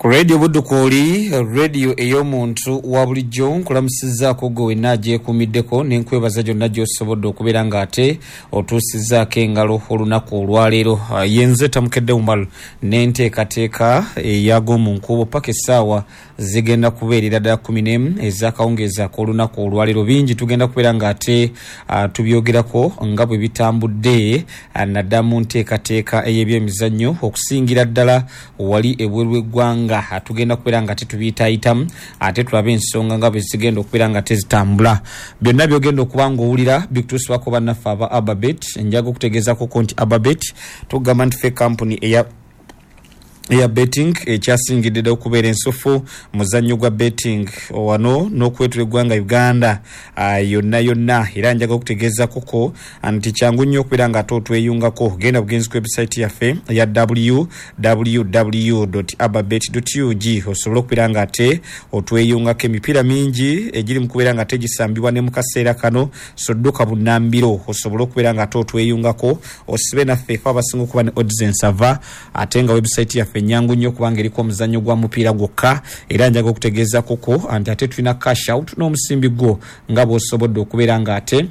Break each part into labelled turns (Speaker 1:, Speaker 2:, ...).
Speaker 1: Ku Radio Buddu kwoli, radio ey'omuntu wa bulijjo, nkulamusizzaako gwe wenna agyekuumiddeko ne nkwebaza gyonna gy'osobodde okubeera ng'ate otuusizzaako engalo olunaku olwaleero. Yenze Tamukedde Umar n'enteekateeka ey'ag'omu nkuubo paka essaawa zigenda kubeerera ddala 11 ez'akawungeezi ak'olunaku olwaleero. Bingi tugenda kubeera ng'ate tubyogerako nga bwe bitambudde naddala mu nteekateeka ey'ebyemizannyo okusingira ddala wali ebweru w'eggwanga. Tugenda kubeera nga tetubiyitaayitamu ate tulabe ensonga nga bwe zigenda okubeera nga tezitambula. Byonna by'ogenda okuba ng'owulira bikutuusibwako bannaffe aba Ababet. Njaga okutegeezaako nti Ababet tugamba nti ffe kampuni eya betting ekyasingidde ddala okubeera ensufu muzannyo gwa betting wano n'okwetula eggwanga Uganda yonna yonna. Era njaga okutegeezaako nti kyangu nnyo okubeera nga ate otweyungako. Genda bugenzi ku website yaffe eya www.ababet.ug osobola okubeera nga ate otweyungako. Emipiira mingi egiri mu kubeera nga tegisambibwa ne mu kaseera kano, so dduka bunnambiro osobola okubeera nga ate otweyungako osibe naffe efe abasinga okuba ne odds ensava, ate nga website yaffe nyangu nnyo kubanga eriko omuzannyo gwa mupiira gwokka. Era njaga okutegeezaako nti ate tulina cash out n'omusimbi gwo nga bw'osobodde okubeera nga ate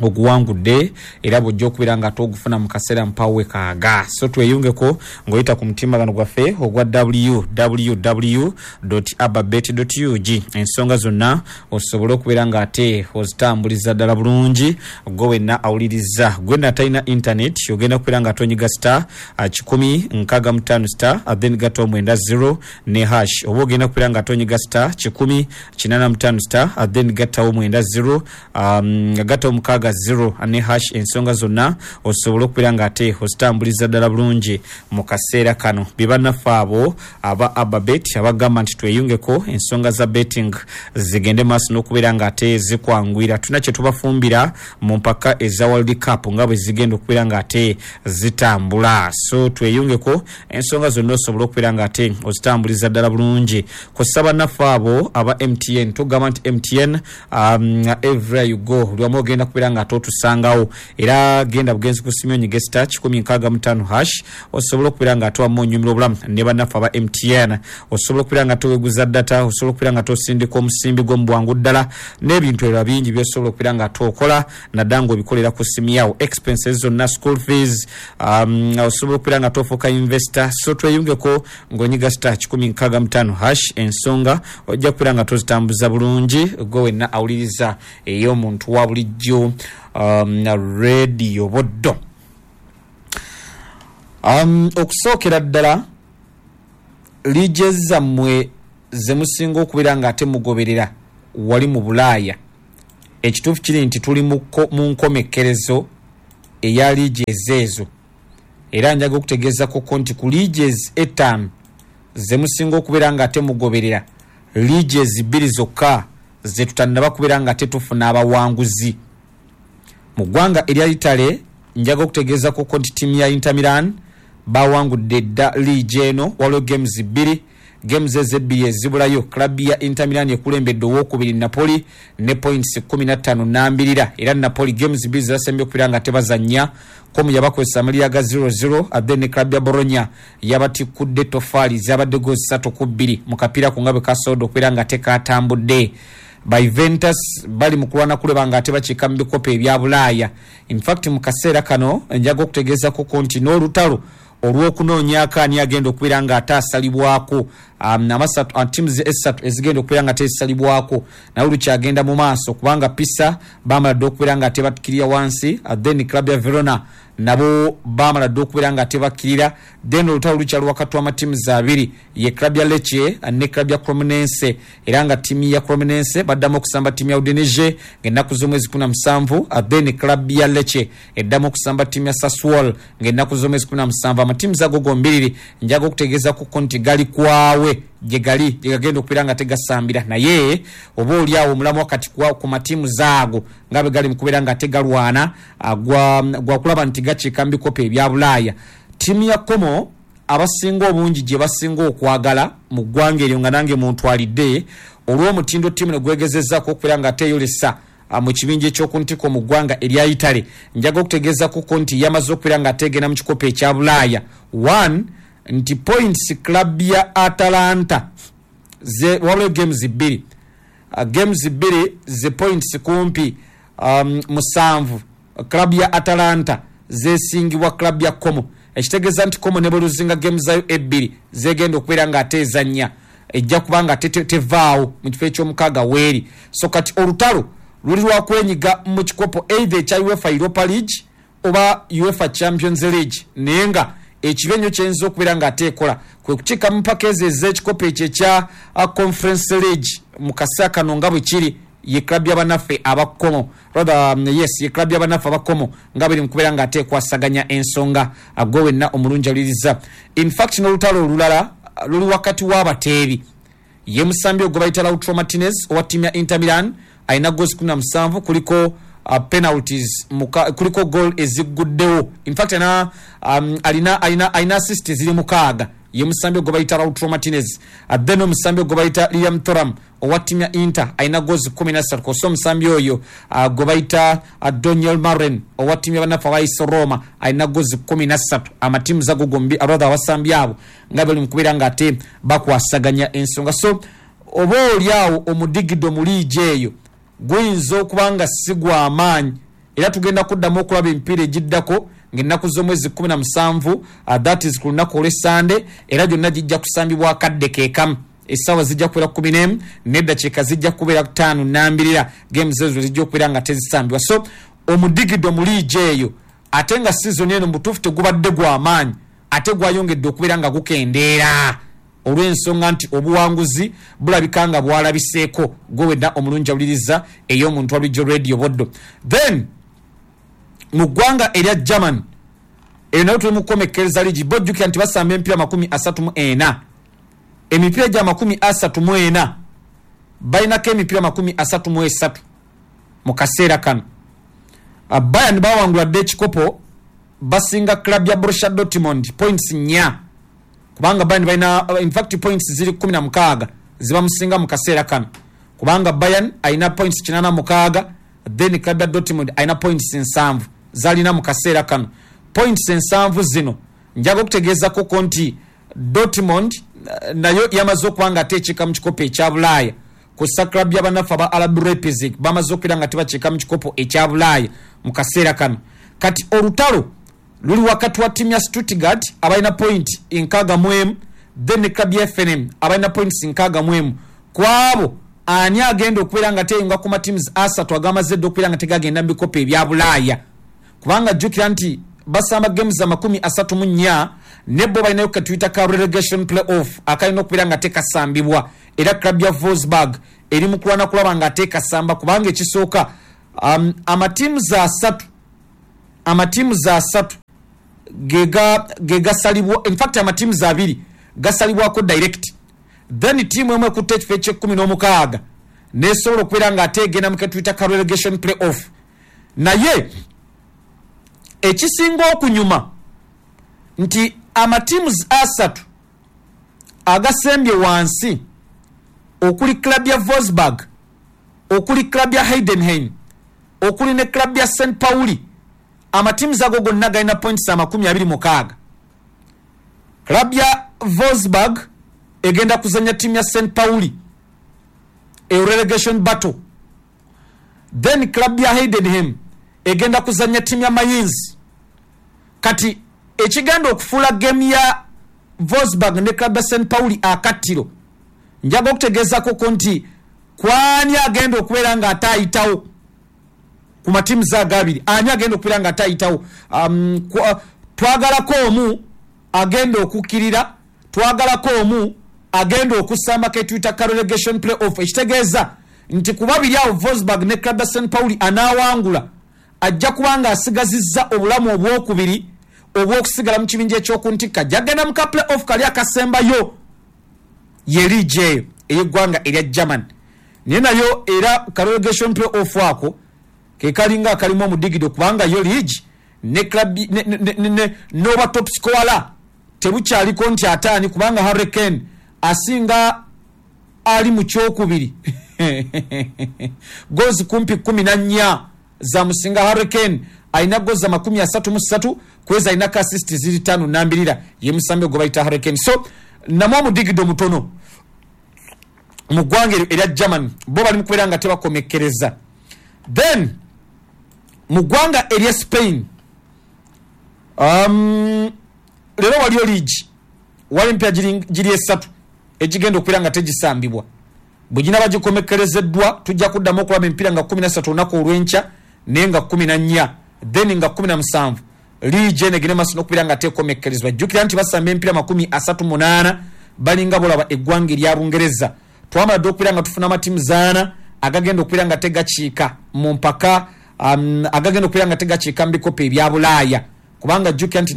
Speaker 1: oguwangudde, era bw'ojja okubeera nga ate ogufuna mu kaseera mpawe kaaga. So tweyungeko ng'oyita ku mutimbagano gwaffe ogwa www.ababet.ug, ensonga zonna osobola okubeera nga ate ozitambuliza ddala bulungi. Gwe wenna awuliriza, gwe natalina internet, ogenda kubeera nga atonyiga star 165 star then gatta omwenda 0 ne hash, oba ogenda kubeera nga atonyiga star 185 star then gattawo mwenda 0 gattawo mukaaga 0 ne hash, ensonga zonna osobola okubeera nga ate ozitambuliza ddala bulungi mu kaseera kano. Bye bannaffe abo aba Ababet abagamba nti tweyungeko ensonga za betting zigende maaso n'okubeera nga ate zikwanguyira. Tulina kye tubafumbira mu mpaka eza World Cup nga bwe zigenda okubeera nga ate zitambula, so tweyungeko ensonga zonna osobola okubeera nga ate ozitambuliza ddala bulungi. Kussa bannaffe abo aba MTN, tugamba nti MTN everywhere you go, buli wamu ogenda kubeera nga ate otusangawo. Era genda bugenzi ku simu onyige star 165 hash osobola okubeera nga ate wamu onyumira obulamu ne bannaffe aba MTN. Osobola okubeera nga toweguza data, osobola okubeera nga tosindika omusimbi gwo mu bwangu ddala n'ebintu ebirala bingi by'osobola okubeera nga ate okola naddala ng'obikolera ku simu yawo. Expenses zonna, school fees, osobola okubeera nga tofuuka investor. So tweyungeko ng'onyiga star 165 hash, ensonga ojja kubeera nga tozitambuza bulungi. Gwe wenna awuliriza ey'omuntu wa bulijjo Radio Buddo. Okusookera ddala liigi zammwe ze musinga okubeera nga ate mugoberera wali mu Bulaaya, ekituufu kiri nti tuli mu nkomekkerezo eya liigi ezeezo. Era njaga okutegeezako nti ku liigi etaano ze musinga okubeera nga ate mugoberera, liigi bbiri zokka ze tutannaba kubeera nga tetufuna abawanguzi. Mu ggwanga erya Italy njaga okutegeezako nti ttiimu ya Inter Milan bawangudde dda liigi eno, waliwo games bbiri. Games ezo ebbiri ezibulayo, club ya Inter Milan ekulembedde owokubiri Napoli ne points 15 nambirira. Era Napoli games bbiri zebasembye okubeera nga tebazannya, Como yabakozesa amalira ga 0-0, then ne club ya Bologna yabatikkudde tofaali zabadde goals 3-2 mu kapiira ko nga bwe kasobodde okubeera nga tekatambudde. Ba Juventus bali mu kulwana kuleba nga ate bakiika mu bikopo ebya Bulaaya. In fact mu kaseera kano njaga okutegeezako nti n'olutalo olw'okunoonyaako ani agenda okubeera nga ate asalibwako, teams esatu ezigenda okubeera nga tezisalibwako naye lukyagenda mu maaso, kubanga Pisa bamala dde okubeera nga tebakkirira wansi, then club ya Verona nabo bamala dde okubeera nga tebakkirira. Then olutalo lukyali wakati w'amatiimu abiri, ye club ya Lecce ne club ya Cremonense. Era nga ttiimu ya Cremonense baddamu okusamba ttiimu ya Udinese ng'ennaku z'omwezi 17, then club ya Lecce eddamu okusamba ttiimu ya Sassuolo ng'ennaku z'omwezi 17. Amatiimu ago gombiriri njaga okutegeezako nti gali kwawe gye gali gye gagenda okubeera nga tegasambira, naye oba oli awo omulamu wakati ku matiimu zaago nga bwe gali mu kubeera nga tegalwana gwa kulaba nti gakiika mu bikopo ebya Bulaaya. Ttiimu ya Como abasinga obungi gye basinga okwagala mu ggwanga eryo, nga nange muntwalidde, olw'omutindo ttiimu ne gwegezezzaako okubeera nga teeyolesa mu kibinja ekyoku ntiko mu ggwanga erya Italy, njaga okutegeezako nti yamaze okubeera nga ateegenda mu kikopo ekya Bulaaya. One Nti points club ya Atalanta ze wabula games 2, games 2 ze points kumpi 7 club ya Atalanta zesingibwa club ya Como. Ekitegeeza nti Como ne bweluzinga games zayo 2 zegenda okubeera nga ate ezannya ejja kubanga tevaawo mu kifo ekyomukaaga weeri. So kati olutalo luli lwakwenyiga mu kikopo either ekya UEFA Europa League oba UEFA Champions League, naye nga ekibi ennyo kyeyinza okubeera nga ate ekola kwe kukiika mu mpaka ezo ez'ekikopo ekyo ekya Conference League mu kaseera kano nga bwe kiri. Ye club y'abannaffe aba Como, rather yes, ye club y'abannaffe aba Como nga biri mu kubeera nga ate ekwasaganya ensonga. Gwe wenna omulungi awuliriza, in fact n'olutalo olulala luli wakati w'abateebi. Ye musambi ogwo bayita Lautaro Martinez owa ttiimu ya Inter Milan alina goals 17, kuliko penalties kuliko goal ezigguddewo. In fact alina assist ziri 6. Ye musambi ogwo bayita Lautaro Martinez. Then omusambi ogwo bayita Liam Thuram owa ttiimu ya Inter alina goals 13, kw'ossa omusambi oyo gwe bayita Daniel Maren owa ttiimu y'abannaffe aba AS Roma alina goals 13. Amatiimu zago gombi, rather abasambi abo nga bali mu kubeera nga ate bakwasaganya ensonga. So oba oli awo omudigido mu liigi eyo guyinza okuba nga si gwa maanyi, era tugenda kuddamu okulaba emipiira egiddako ng'ennaku z'omwezi 17, that is ku lunaku olw'Essande, era gyonna gijja kusambibwa akadde keekamu. Essaawa zijja kubeera 11 n'eddakiika zijja kubeera 5 nambirira. Games ezo zijja okubeera nga tezisambibwa. So omudigido mu liigi eyo, ate nga season eno mubutuufu tegubadde gwa maanyi, ate gwayongedde okubeera nga gukendeera olw'ensonga nti obuwanguzi bulabika nga bwalabiseeko. Gwe wenna omulungi awuliriza ey'omuntu wa Bulijjo Radio Boddo. Then mu ggwanga erya German, eyo nayo tuli mu kukomekkereza liigi. Bo jjukira nti basamba emipiira 34, emipiira gya 34 balinako emipiira 33 mu kaseera kano. Bayern bawangula dda ekikopo, basinga club ya Borussia Dortmund points 4, kubanga Bayern balina in fact points ziri 16 zibamusinga mu kaseera kano, kubanga Bayern alina points 86, then club ya Dortmund alina points 7 zalina mu kaseera kano. Points 7 zino njaga okutegeezako nti Dortmund nayo yamaze okuba nga ateekiika mu kikopo ekya Bulaaya. Kussa club y'abannaffe aba RB Leipzig bamaze okubeera nga tebakiika mu kikopo ekya Bulaaya mu kaseera kano. Kati olutalo luli wakati wa ttiimu ya Stuttgart abalina point 61, then club ya FNM abalina points 61. Kwabo ani agenda okubeera nga teyunga ku matiimu 3 agamaze dda okubeera nga tegagenda mu bikopo ebya Bulaaya? Kubanga jjukira nti basamba games za 34, ne bo balinayo ketuyita ka relegation play-off akalina okubeera nga tekasambibwa, era club ya Wolfsburg eri mu kulwana kulaba nga tekasamba, kubanga ekisooka amatiimu 3 gegasalibwa, in fact amatiimu 2 gasalibwako direct, then ttiimu emu ekutte ekifo eky'e16 nesobola okubeera nga ate egenda mu ketuyita ka relegation play-off. Naye ekisinga okunyuma nti amatiimu 3 agasembye wansi, okuli club ya Wolfsburg, okuli club ya Heidenheim, okuli ne club ya St Pauli, amatiimu ago gonna galina points 26. Club ya Wolfsburg egenda kuzanya ttiimu ya St Pauli e relegation battle, then club ya Heidenheim egenda kuzanya ttiimu ya Mainz. Kati ekigenda okufuula game ya Wolfsburg ne club ya St Pauli akattiro, njaga okutegeezako nti kwani agenda okubeera nga ate ayitawo ku matiimu 2, ani agenda okubeera nga ate ayitawo? Twagalako omu agenda okukkirira, twagalako omu agenda okusamba ketuyita ka relegation play off. Ekitegeeza nti ku babiri awo Wolfsburg ne club ya St Pauli anaawangula ajja kuba nga asigazizza obulamu obwokubiri obw'okusigala mu kibinja ekyokuntikka, jagenda mu ka play off kali akasembayo. Ye liigi eyo ey'eggwanga erya German, naye nayo era ka relegation play off ako ke kalinga akalimu omudigido, kubanga yo liigi ne club n'oba top scorer tebukyaliko nti ataani, kubanga Harry Kane asinga ali mu kyokubiri goals kumpi 14 zamusinga Harry Kane Alina goals 33, kweza alina ka assist ziri 5 nambirira. Ye musambi gwe bayita Harry Kane. So namwe omudigido mutono mu ggwanga erya Germany bo bali mu kubeera nga tebakomekkereza. Then mu ggwanga erya Spain, leero waliyo liigi, wali empya giri 3 egigenda okubeera nga tegisambibwa. Bwe ginaba gikomekkerezeddwa tujja kuddamu okulaba emipiira nga 13 olunaku olw'enkya, naye nga 14, then nga 17 liigi eno egende maaso n'okubeera nga tekomekkerezebwa. Jjukira nti basamba emipiira 38, balinga bolaba eggwanga erya Bungereza. Twamala dde okubeera nga tufuna amatiimu 4 agagenda okubeera nga tegakiika mu mpaka, agagenda okubeera nga tegakiika mu bikopo ebya Bulaaya, kubanga jjukira nti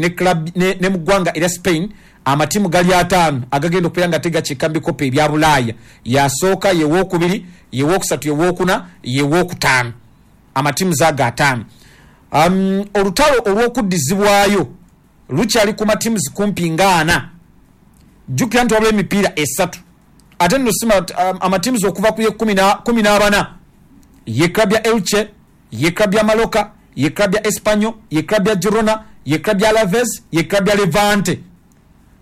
Speaker 1: ne mu ggwanga erya Spain amatiimu gali 5 agagenda okubeera nga tegakiika mu bikopo ebya Bulaaya. Yasooka, yewookubiri, yewokusatu, yewookuna, yewookutaano, amatiimu zaago 5. Olutalo olw'okuddizibwayo lukyali ku matiimu kumpi nga 4. Jjukira nti wabula emipiira 3, ate nno sima amatiimu okuva ku ye 14, ye club ya Elche, ye club ya Mallorca, ye club ya Espanyol, ye club ya Girona, ye club ya Alaves, ye club ya Levante.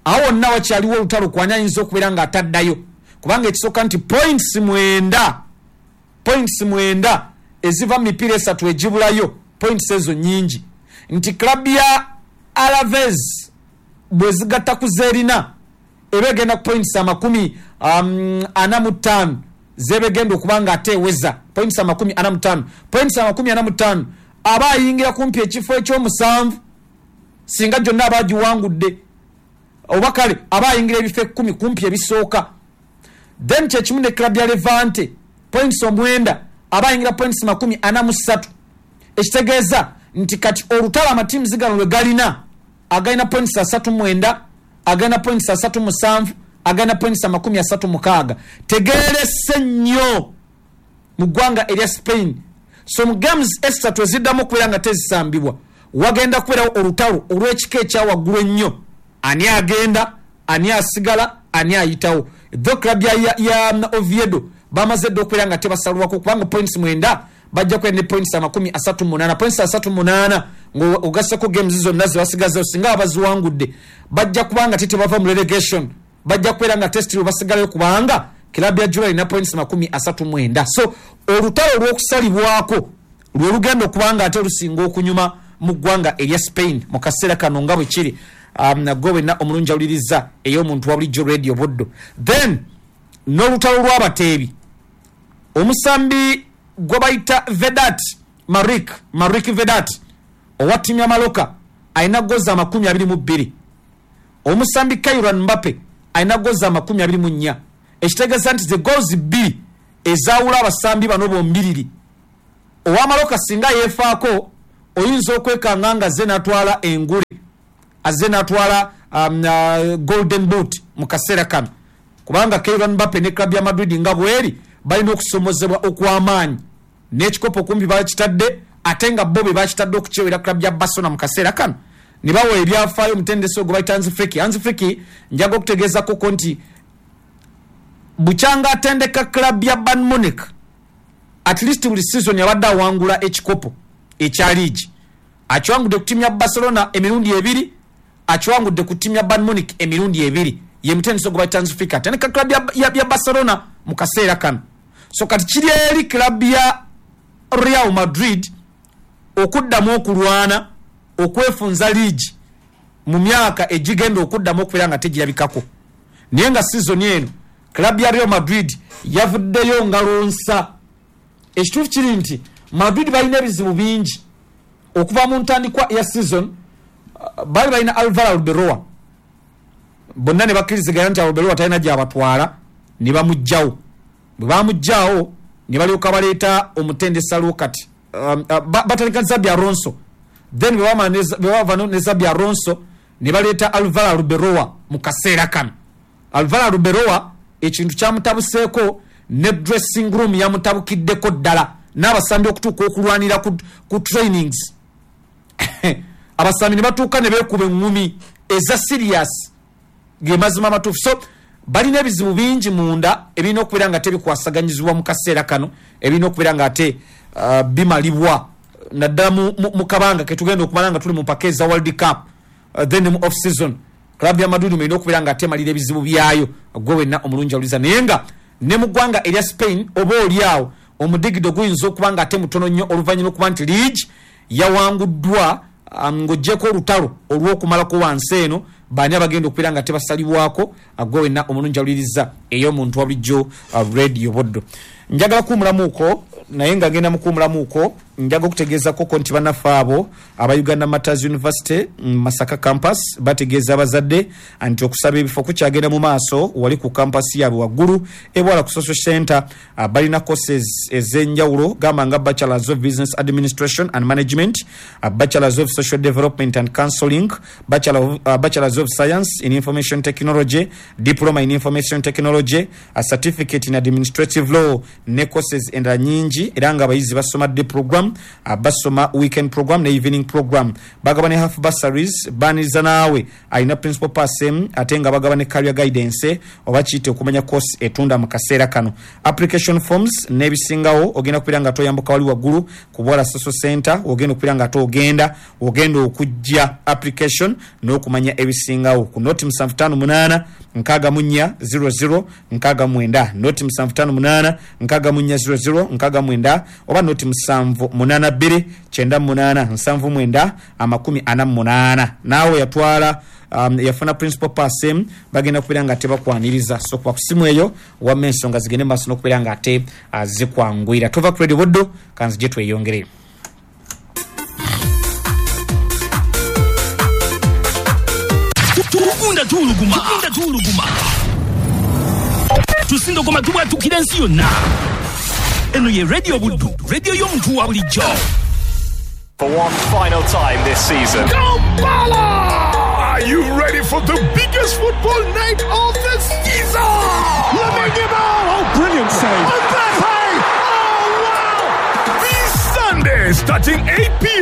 Speaker 1: Awo wonna wakyaliwo olutalo kwani ayinza okubeera nga ataddayo, kubanga ekisooka nti points 9 eziva mu mipiira 3 egibulayo, points ezo nnyingi. Nti club ya Alaves bwe zigatta ku zeerina eba egenda ku points 45 zebegenda okuba nga ate eweza points 45. Points 45 aba ayingira kumpi ekifo ekyomusanvu singa gyonna aba agiwangudde, oba kale aba ayingira ebifo 10 kumpi ebisooka. Then kyekimu ne club ya Levante points 9 aba ayingira points 43, ekitegeeza nti kati olutalo amatiimu zigano lwe galina, agalina points 39, agalina points 37, agalina points 36. Tegeerese nnyo mu ggwanga erya Spain. So mu games 3 eziddamu okubeera nga tezisambibwa wagenda kubeerawo olutalo olw'ekika ekya waggulu ennyo. Ani agenda, ani asigala, ani ayitawo. Tho club ya Oviedo bamaze dde okubeera nga tebasalwako, kubanga points 9 bajja kubeera ne points 38. Points 38 ng'ogasseko games zonna ze basigazeewo, singa baziwangudde bajja kubanga tebava mu relegation, bajja kubeera nga test basigalayo, kubanga club ya Girona erina points 39. So olutalo olw'okusalibwako lwe lugenda okubanga ate lusinga okunyuma mu ggwanga erya Spain mu kaseera kano nga bwe kiri. Gwe wenna omulungi awuliriza ey'omuntu wa bulijjo Radio Buddo. Then n'olutalo lw'abateebi, omusambi gwe bayita Vedat Marik Vedat owa ttiimu ya Mallorca alina goals 22. Omusambi Kylian Mbappe alina goals 24, ekitegeeza nti ze goals 2 ezaawula abasambi bano bombiriri. Owa Mallorca singa yeefaako oyinza okwekanga nga azze n'atwala engule, azze n'atwala golden boot mu kaseera kano, kubanga Kylian Mbappe ne club ya Madrid nga bweri balina okusomozebwa okw'amaanyi n'ekikopo kumpi bakitadde, ate nga bo be bakitadde okukyewera club ya Barcelona mu kaseera kano ne bawa ebyafaayo omutendesi ogwo bayita Hansi Flick. Hansi Flick njaga okutegeezako nti bukyanga atendeka club ya Bayern Munich, at least buli season yabadde awangula ekikopo ekya liigi. Akiwangudde ku ttiimu ya Barcelona emirundi 2, akiwangudde ku ttiimu ya Bayern Munich emirundi 2. Ye mutendesi ogwo bayita Hansi Flick atendeka club ya Barcelona mu kaseera kano. So kati kiri eri club ya Real Madrid okuddamu okulwana okwefunza liigi mu myaka egigenda okuddamu okubeera nga tegirabikako. Naye nga season eno club ya Real Madrid yavuddeyo ngalo nsa. Ekituufu kiri nti Madrid balina ebizibu bingi okuva mu ntandikwa ya season. Bali balina Alvaro Arbeloa, bonna ne bakkiriziganya nti Arbeloa talina gy'abatwala, ne bamuggyawo. Bwe bamuggyawo ne balyoka baleeta omutendesi aliwo kati, batandika Xabi Alonso. Then bwe bava ne Xabi Alonso ne baleeta Alvaro Arbeloa mu kaseera kano. Alvaro Arbeloa ekintu kyamutabuseeko ne dressing room yamutabukiddeko ddala, n'abasambi okutuuka okulwanira ku trainings. Abasambi ne batuuka ne beekuba eŋŋumi eza serious, ge mazima amatuufu. So balina ebizibu bingi munda ebirina okubeera nga tebikwasaganyizibwa mu kaseera kano, ebirina okubeera nga ate bimalibwa. Naddala mu kabanga ketugenda okumala nga tuli mu mpaka eza World Cup, then mu off season club ya Madrid erina okubeera nga atemalira ebizibu byayo. Gwe wenna omulungi awuliza, naye nga ne mu ggwanga erya Spain oba oli awo omudigido guyinza okuba nga ate mutono nnyo, oluvannyuma okuba nti league yawanguddwa, ng'oggyeko olutalo olw'okumalako wansi eno baani abagenda okubeera nga tebasalibwako. Gwe wenna omulungi awuliriza ey'omuntu wa bulijjo, Radio Buddu, njagala kuwumulamuuko, naye nga ngenda mukuwumulamuuko njaga okutegeezako nti bannaffe abo aba Uganda Martyrs University Masaka Campus bategeeza abazadde nti okusaba ebifo kukyagenda mu maaso wali ku campus yaabwe waggulu ebwala ku social center. Balina courses ez'enjawulo, gamba nga Bachelors of Business Administration and Management, Bachelors of Social Development and Counseling, Bachelors of Science in Information Technology, Diploma in Information Technology, a Certificate in Administrative Law ne courses endala nyingi. Era nga abayizi basoma day program, basoma weekend program ne evening program. Bagaba ne half bursaries, baniriza naawe alina principal pass, ate nga bagaba ne career guidance oba kiyite okumanya course etunda mu kaseera kano. Application forms n'ebisingawo ogenda kubeera nga toyambuka wali waggulu ku Bwala Social Center, ogenda okubeera nga ate ogenda okujja application n'okumanya ebisingawo ku 0 758 64 00 69, 0 758 64 00 69, oba 0 782 98 79 48. Naawe yatwala, yafuna principal pass, bagenda kubeera nga tebakwaniriza. So kuba ku simu eyo wamma ensonga zigende maaso n'okubeera nga ate zikwanguyira. Tova ku Radio Buddu, kanzije tweyongereyo.
Speaker 2: Tugunda tuwuluguma, tugunda tuwuluguma, tusindogoma, tubwatukira ensi yonna. Eno ye Radio Buddu, radio y'omuntu wa bulijjo.
Speaker 3: For one final time this season.
Speaker 4: Kampala! Are you ready for the biggest football night of the season? Lamine Yamal! Oh, brilliant save! Mbappe! Oh, wow! This Sunday, starting 8 p.m.